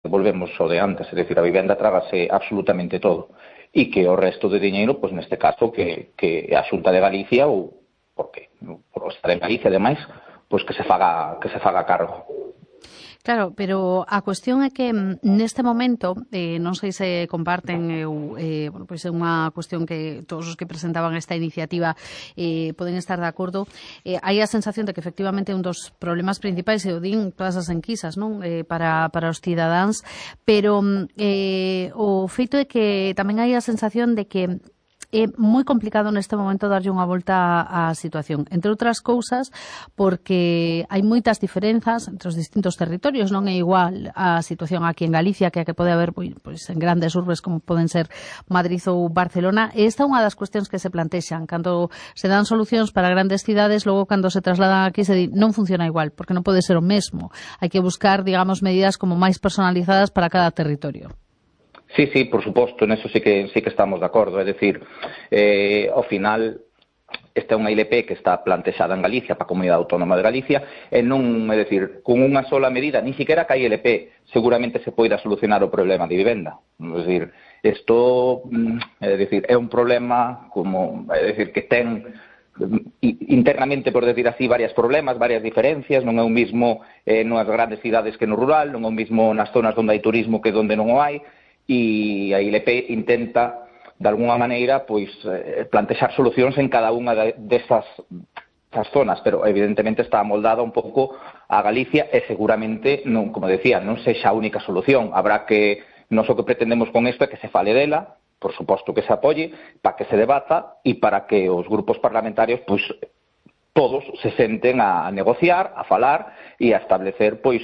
volvemos ao de antes, é dicir, a vivenda trágase absolutamente todo, e que o resto de diñeiro, pois neste caso, que a Xunta de Galicia, ou porque por estar en Galicia, ademais, pois que se faga cargo. Claro, pero a cuestión é que neste momento, non sei se comparten, bueno, pois é unha cuestión que todos os que presentaban esta iniciativa poden estar de acordo, hai a sensación de que efectivamente un dos problemas principais é o din todas as enquisas, non? Para os cidadáns, pero o feito é que tamén hai a sensación de que é moi complicado neste momento darlle unha volta á situación, entre outras cousas porque hai moitas diferenzas entre os distintos territorios, non é igual a situación aquí en Galicia que a que pode haber pois en grandes urbes como poden ser Madrid ou Barcelona, e esta é unha das cuestións que se plantexan cando se dan solucións para grandes cidades, logo cando se trasladan aquí se di non funciona igual, porque non pode ser o mesmo, hai que buscar, digamos, medidas como máis personalizadas para cada territorio. Sí, por suposto, neso sí que estamos de acordo, é dicir, ao final esta é unha ILP que está plantexada en Galicia para a Comunidade Autónoma de Galicia e non, é dicir, con unha sola medida, ni siquiera que a ILP seguramente se poida solucionar o problema de vivenda, é dicir, isto é un problema como, é dicir, que ten internamente, por decir así, varios problemas, varias diferencias, non é o mismo nas grandes cidades que no rural, non é o mismo nas zonas onde hai turismo que onde non o hai, e a ILP intenta, de alguna maneira, pois plantexar solucións en cada unha desas zonas, pero evidentemente está amoldada un pouco a Galicia e seguramente, non, como decía, non sexa a única solución. Habrá que, non o que pretendemos con isto é que se fale dela, por suposto que se apoie, para que se debata e para que os grupos parlamentarios, pois, todos se senten a negociar, a falar e a establecer, pois,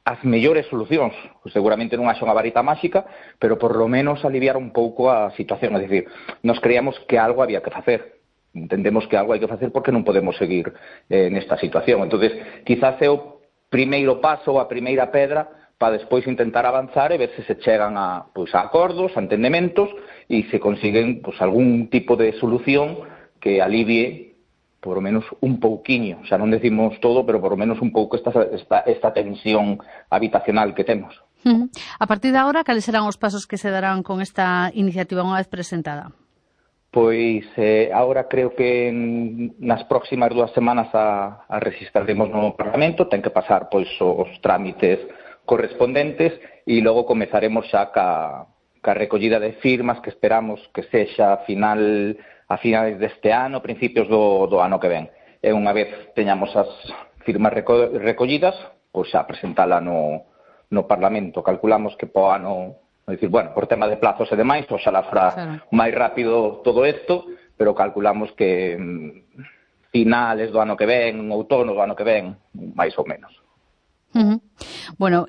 as mellores solucións. Seguramente non haxa unha varita máxica, pero por lo menos aliviar un pouco a situación. É dicir, nos creíamos que algo había que facer. Entendemos que algo hai que facer porque non podemos seguir nesta situación. Entonces, quizás é o primeiro paso, a primeira pedra, para despois intentar avanzar e ver se se chegan a acordos, a entendementos, e se consiguen algún tipo de solución que alivie por lo menos un pouquiño, xa non decimos todo, pero por lo menos un pouco esta tensión habitacional que temos. A partir de agora, cales serán os pasos que se darán con esta iniciativa unha vez presentada? Pois agora creo que nas próximas 2 semanas a registraremos no Parlamento, ten que pasar pois os trámites correspondentes e logo comezaremos xa ca recollida de firmas que esperamos que sexa a finais deste ano, principios do ano que ven. E unha vez teñamos as firmas recollidas, pois xa presentala no Parlamento. Calculamos que po ano, dicir, bueno, por tema de plazos e demais, pois xa la fará máis rápido todo isto, pero calculamos que finales do ano que ven, outono do ano que ven, máis ou menos. Bueno,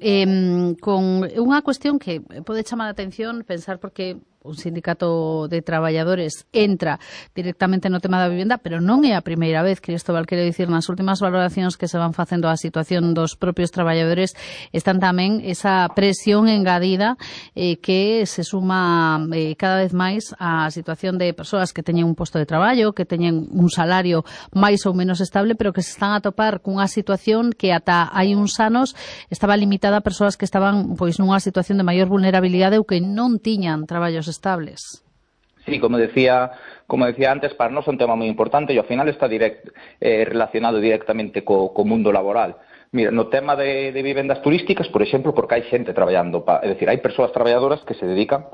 con unha cuestión que pode chamar a atención, pensar porque un sindicato de traballadores entra directamente no tema da vivenda, pero non é a primeira vez, Cristóbal, quero dicir, nas últimas valoracións que se van facendo a situación dos propios traballadores están tamén esa presión engadida que se suma cada vez máis á situación de persoas que teñen un posto de traballo, que teñen un salario máis ou menos estable, pero que se están a topar cunha situación que ata hai uns anos estaba limitada a persoas que estaban pois nunha situación de maior vulnerabilidade ou que non tiñan traballos estables. Sí, como decía antes, para nós é un tema moi importante e ao final está relacionado directamente co mundo laboral. Mira, no tema de vivendas turísticas, por exemplo, porque hai xente traballando, é dicir, hai persoas traballadoras que se dedican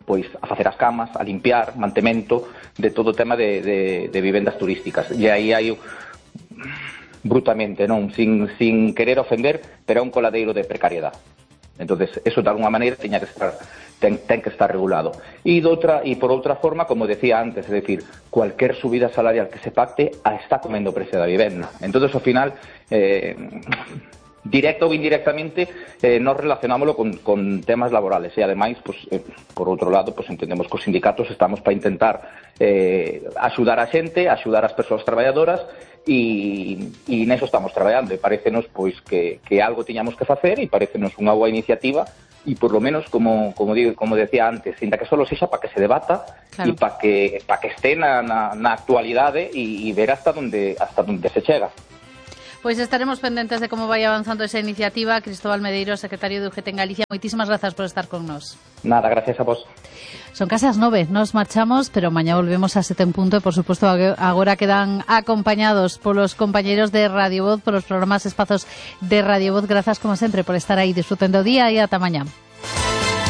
pois a facer as camas, a limpiar, mantemento de todo o tema de vivendas turísticas. E aí hai brutamente, non, sin querer ofender, pero é un coladeiro de precariedade. Entonces, eso de alguna maneira ten que estar regulado. E por outra forma, como decía antes, é dicir, cualquier subida salarial que se pacte está comendo o precio da vivenda. Entonces, ao final, directo ou indirectamente, nos relacionámoslo con temas laborales. E, ademais, pues, por outro lado, pues, entendemos que os sindicatos estamos para intentar axudar a xente, axudar as persoas traballadoras, e neso estamos traballando, e parecenos pois que algo tiñamos que facer, e parecenos unha boa iniciativa, e por lo menos, como decía antes, ainda que solo sexa para que se debata, e para que este na actualidade e ver hasta onde se chega. Pois estaremos pendentes de como vai avanzando esa iniciativa. Cristóbal Medeiros, secretario de UGT en Galicia, moitísimas grazas por estar con nós. Nada, gracias a vos. Son case as 9, nos marchamos, pero mañá volvemos a 7 en punto e, por suposto, agora quedan acompañados polos compañeros de Radio Voz, polos programas Espazos de Radio Voz. Grazas, como sempre, por estar aí. Disfruten do día e ata mañá.